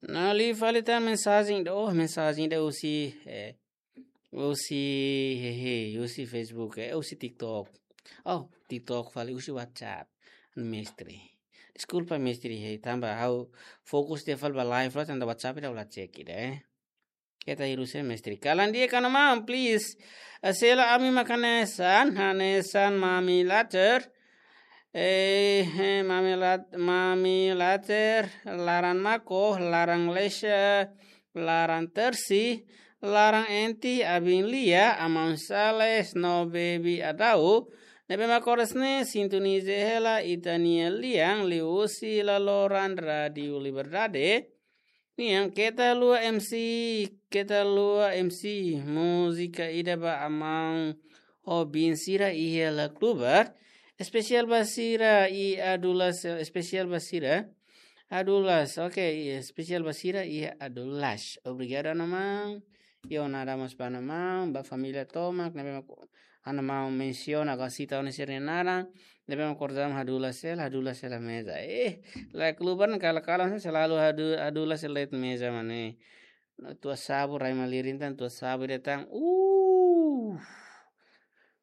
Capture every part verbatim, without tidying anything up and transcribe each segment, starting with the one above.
Ne'e liu fali tan mensajen ida, oh, mensajen ida husi, eh, husi, hehe, husi Facebook, eh, husi TikTok. Oh, TikTok fali, husi WhatsApp. Mestre. Deskulpa, mestre, hei, tanba ha'u fokus tiha fali ba live loos, tanba WhatsApp ida ha'u la cek ida, eh. Keta hirus, eh, mestre. Kalan di'ak ka no maun, please. Eh, sela ami mak hanesan, hanesan Mami Later. Eh, eh, Mami Lat-, Mami Later, laran Mako, laran Lesha, laran Tersi, laran Enti, Abin Lia, Aman Sales, no Baby Adau. Ne'ebé mak oras ne'e sintoniza hela ita-nia lian liuhusi laloran Rádiu Liberdade nian. Keta haluha M C, keta haluha M C, múzika ida ba Aman ho Bin sira iha La Klubar. Espesiál ba sira i Adulas, espesiál ba sira. Adulas, oke, i espesiál ba sira i Adulas. Obrigadu, Ana Maun. Io, nada mós ba Ana Maun, ba família tomak, ne'ebé mak Ana Maun mensiona, agora sita ona sira-nia naran, ne'ebé mak kordam Adulas hela, Adulas hela meza. Eh, La Klubar ne'e kala-kala selalu Adu-, Adulas hela meza mane. Tua Sabu, rai malirin tan, Tua Sabu ida tan. Uh.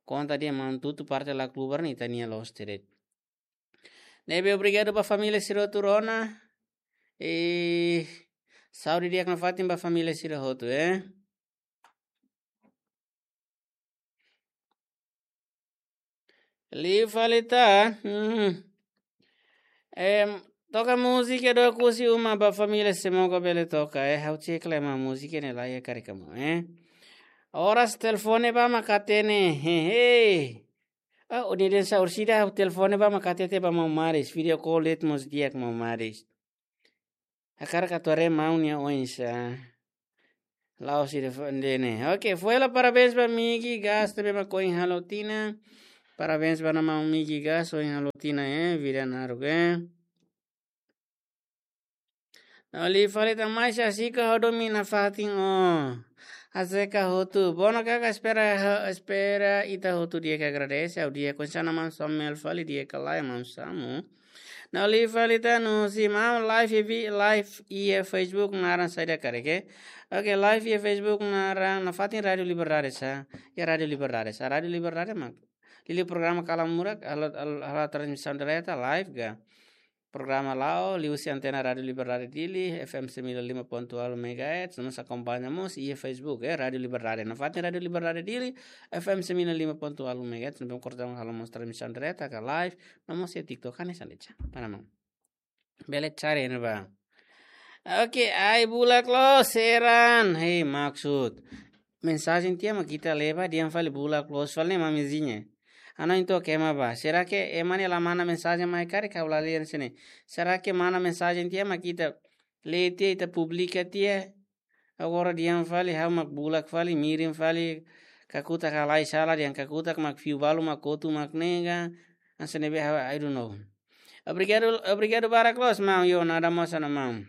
Konta dehan maun tutu parte La Klubar ne'e ita-nia loos de'it. Ne'ebé obrigadu ba família sira hotu rona. E saúde di'ak nafatin ba família sira hotu, eh. Liu fali tan. Hmm. Em, toka múzika do kusi uma ba família Semoga bele toka, eh. Ha'u cek lai ema múzika ne'e la iha karik ema, eh. Oras telefone ba mak hatene, hehe. Ah, o ni den sa orsida telefone ba mak hatete ba maun Maris, video call de'it mós di'ak maun Maris. Hakarak atu haree maun nia oinsá. La'ós ida fo-, ida ne'e. Oke, foin hela parabéns ba Migi Gas, ne'ebé mak ohin halo tinan. Parabéns ba Ana Maun Migi Gas, ohin halo tinan, eh, vida naruk, eh. No liu fali tan mai sa sika hodo mina fatin o. Aseka hotu. Bona kaka espera, espera ita hotu di'ak, agradese, ha'u di'ak, oinsá Ana Maun Samuel fali di'ak ka lae, Maun Samu. No liu fali tan husi maun live iha, live iha Facebook naran saida karik, eh. Oke, live iha Facebook naran nafatin Rádiu Liberdade sá. Ya Rádiu Liberdade sá. Rádiu Liberdade mak. Liuliu programa Kalan Murak, halo, halo, halo transmisaun direta live ka. Programa la'o, liuhusi antena Rádiu Liberdade Dili, F M sembilan lima ponto delapan megahertz, no mós akompaña mós iha Facebook, eh, Rádiu Liberdade. Nafatin Rádiu Liberdade Dili, F M sembilan lima ponto delapan megahertz, no mós korta halo mós transmisaun direta ka live, no mós iha TikTok, hanesan de'it. Mana mau? Bele cari ne'ebá. Oke, ai bulak loos, Eran. Hei, maksud. Mensajen tiha mak ita lee ba, dehan fali bulak loos fali ne'e Mami Zinha. Ha'u hanoin took ema ba. Será que ema ne'e la manda mensajen mai karik, ha'u la lee hanesan ne'e. Será que manda mensajen tiha mak ita lee tiha, ita publika tiha? Agora dehan fali, ha'u mak bulak fali, mirin fali, kakutak halai sala, dehan kakutak mak fiu balu mak kotu mak nega. Hanesan ne'ebé ha'u, I don't know. Obrigadu, obrigadu barak loos, maun, io, nada mós Ana Maun.